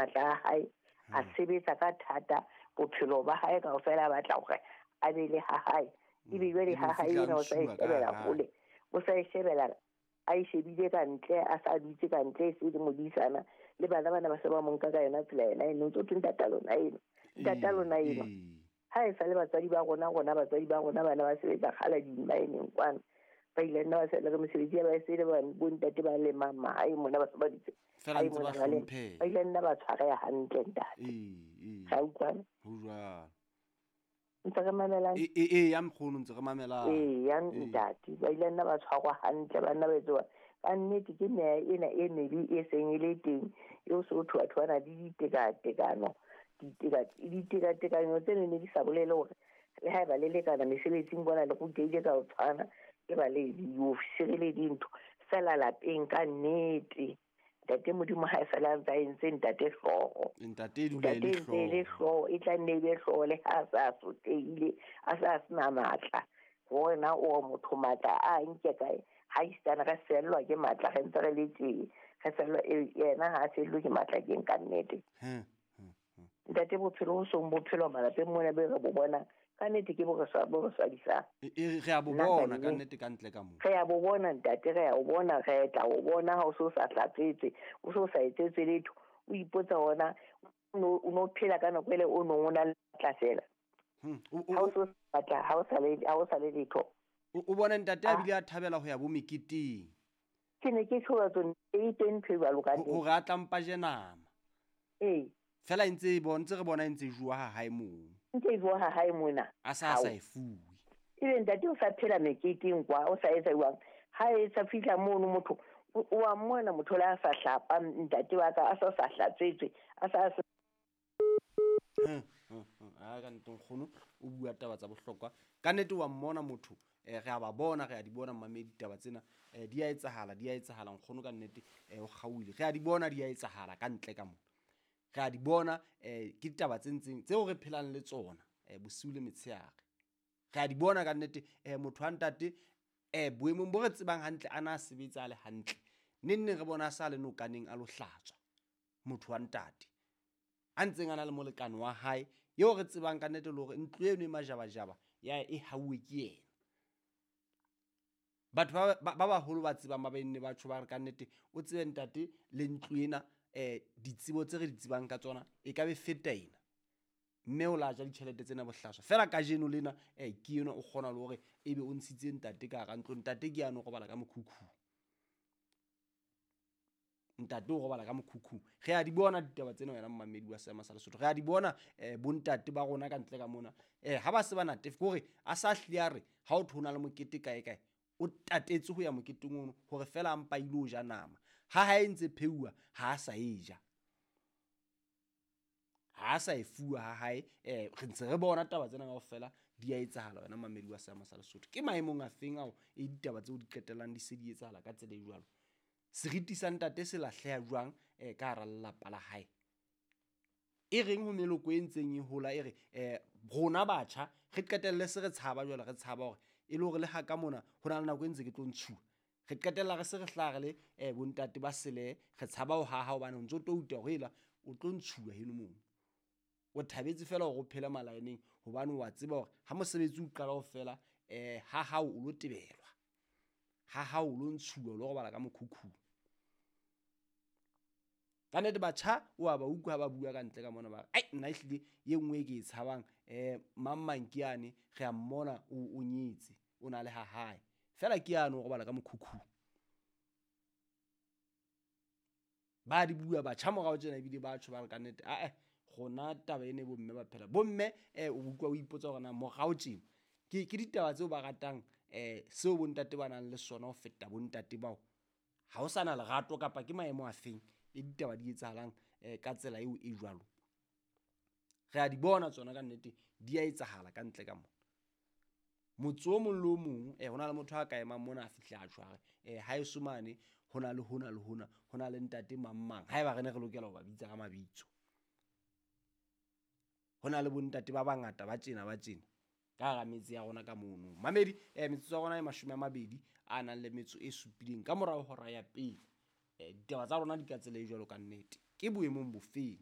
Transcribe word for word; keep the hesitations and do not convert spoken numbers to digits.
matla a hae a sebetsa ka thata bophelo ba hae kaofela a batla hore a be le ha hae ebe jwale ha hae ena o sa e shebela hole o sa e shebela a e shebile ka ntle a sa dutse ka ntle e se le modisana le bana bana ba se ba mo nka ka yona tsela ena eno ntse o thwe ntata lona eno ntata lona eno ha e sa le batswadi ba rona rona batswadi ba rona bana ba sebetsa kgala dimmaeneng kwana ba ile nna ba sa le mesebetsi ya ba e se le bontate ba lemang mahae mona ba se ba ditse fela ntse ba hlomphe ba ile nna ba tshwareha hantle ntate ee ga utlwana ho jwalo ntse re mamelang ee ee ya mkgono ntse re mamelang ee ya ntate ba ile nna ba tshwarwa hantle ba nna ba etsoa ka nnete ke meya ena e mebe e seng e le teng eo se ho thwa thwana le ditekatekano ditekatekanyo tseno ne di sa bolele hore le haeba le lekana mesebetsing bona le rutehile ka ho tshwana ke ba le diofisiri le dintho fela lapeng ka nnete ntate Modimo ha e fela ntse a entse ntate hlooho ntate e dula e le hlooho e le hlooho e tla nne e be hlooho le ha a sa sotlehile a sa sena matla hore na o motho matla a nke kae ha isitana re fellwa ke matla re ntse re le teng re fellwa yena ha a fellwe ke matla ke ka nnete ntate bophelo ho song bophelo malapeng mona be re bo bona ka nnete ke bo re sa bo re swabisang re a bo bona ka nnete ka ntle ka moo re a bo bona ntate re a o bona re tla o bona ha o so sa hlatsetse o so sa etsetse letho o ipotsa ona o no phela ka nako ele o nong o na le matla fela ha o so batla ha o sa le ha o sa le letho o bona ntate a bile a thabela ho ya bo meketeng ke ne ke tshola tsone e teng ntho e jwalo ka hore a tlampa je nama ee fela ntse e bona ntse re bona ntse jwa ha hae moo ntse e jwa ha hae mona a sa sa e fuwe ebe ntate o sa phela meketeng kwa o sa etsa jwang ha e sa fihla mono motho o a mmona motho le a sa hlapa ntate wa ka a sa sa hlatswetswe a sa a ka nnete nkgono o bua taba tsa bohlokwa ka nnete wa mmona motho re a ba bona re a di bona mmamedi ditaba tsena di a etsahala di a etsahala nkgono ka nnete o kgaohile re a di bona di a etsahala ka ntle ka mona re a di bona eh ke ditaba tse ntseng tseo re phelang le tsona eh bosiu le metsheare re a di bona ka nnete eh motho wa ntate eh boemong bo re tsebang hantle a na sebetsa le hantle neng neng re bona sa le nokaneng a lo hlatswa motho wa ntate a ntseng a na le molekane wa hae eo re tsebang ka nnete le hore ntlo eno e majabajaba ya e hauwe ke yena batho ba ba baholo ba tsebang ba benne ba tjho ba re ka nnete o tsebe ntate le ntlo ena eh ditsebo tse re di tsebang ka tsona e ka be feta ena mme o la ja ditjhelete tsena bohlaswa fela kajeno lena eh ke yena o kgona le hore ebe o ntshitse ntate ka hara ntlo ntate ke yana o robala ka mokhukhu ntate o robala ka mokhukhu re a di bona ditaba tsena wena mmamedi wa Seema sa Lesotho re a di bona eh bontate ba rona ka ntle ka mona eh ha ba se ba natefe hore a sa hlile a re ha o thona le mokete kae kae o tatetse ho ya moketeng ono hore fela a mpa ile o ja nama ha hae ntse pheuwa ha a sa e ja ha a sa e fuwa ha hae eh re ntse re bona taba tsena kaofela di a etsahala wena mmamedi wa Seema sa Lesotho ke maemong a feng ao e ditaba tseo di qetellang di se di etsahala ka tsela e jwalo seriti sa ntate se lahleha jwang eh ka hara lelapa la hae e reng ho meloko e ntseng e hola e re eh rona batjha re qetelle se re tshaba jwale re tshaba hore e le hore le ha ka mona ho na le nako e ntse ke tlo ntshuwa re qetella re se re hlaha re le eh bontate ba sele re tshaba ho haha hobane o ntso touta hore ela o tlo ntshuwa heno moo o thabetse fela hore o phele malaeneng hobane wa tseba hore ha mosebetsi o qala ho fela eh ha hao o lo tebelwa ha hao o lo ntshuwa o lo robala ka mokhukhu ka nnete batjha o a ba utlwa ha ba bua ka ntle ka mona ba re ai nna ehlile ye nngwe e ke e tshabang eh mang mang ke yane re a mmona o nyetse o na le ha hae fela ke yane o robala ka mokhukhu ba di bua batjha morao tjena ebile ba tjho ba re ka nnete ae rona taba ene bomme ba phela bomme eh o utlwa o ipotsa hore na morao tjena ke ke ditaba tseo ba ratang eh seo bontate ba nang le sona ho feta bontate bao ha o sa na lerato kapa ke maemo a feng e ditaba di etsahalang eh ka tsela eo e jwalo re a di bona tsona ka nnete di a etsahala ka ntle ka mona motse o mong le o mong eh hona le motho a ka emang mona a fihle a tjho a re eh ha eso mane hona le hona le hona hona le ntate mang mang haeba re ne re lokela ho ba bitsa ka mabitso hona le bontate ba bangata ba tjena ba tjena ka hara metse ya rona ka mono mamedi eh metsotso ya rona e mashome a mabedi a nang le metso e supileng ka morao hora ya pele eh ditaba tsa rona di ka tsela e jwalo ka nnete ke boemong bofeng.